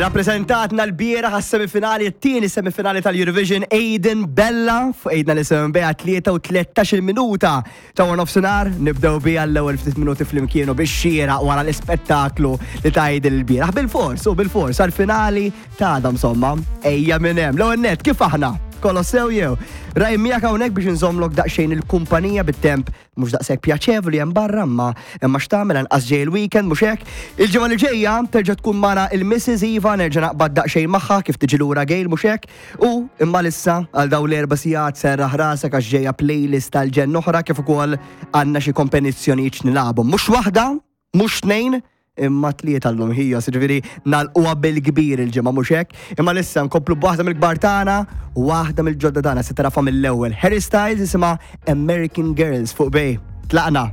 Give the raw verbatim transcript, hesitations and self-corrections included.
Rappresentatna l-bieraħ għas-semifinali, t-tieni semifinali tal-Eurovision, Aiden Bella, fuq Aiden li semmen tlieta u tlettax-il minuta ta' one nofsinhar, nibdew bija l-ewwel ftit minuti flimkien u biex xieraq wara l-ispettaklu li ta' Aiden il-bieraħ. Bil-fors, u bil-fors, għal-finali ta' għada insomma, ejja minn hemm. L-ewwel net, kif aħna? Kollox sew jew? Raj miegħek hawnhekk biex nżommlok daqsxejn il-kumpanija bit-temp mhux daqshekk pjaċevoli hemm barra, imma imma x'tagħmel, anqas ġej il-weekend, mhux hekk? Il-ġimgħa li ġejja terġa' tkun mara il-Missus Iva, nerġa' naqbad daqsxejn magħha kif tiġi lura Gejl, mhux hekk? U imma lissa għal dawn l-erba' sigħat serraħ rasek għax ġejja playlist tal-ġenn oħra, kif ukoll għandna xi kompetizzjonijiet nilagħbu. Mhux waħda, mhux tnejn, imma tlieta llum ħija, ġifieri nagħlquha bil-kbir il-ġimgħa, mhux hekk? Imma lissa nkomplu b'waħda mill-kbar tagħna u waħda mill-ġodda tagħna, se tarafa mill-ewwel. Harry Styles, jisimha American Girls fuq Bay. Tlaqna.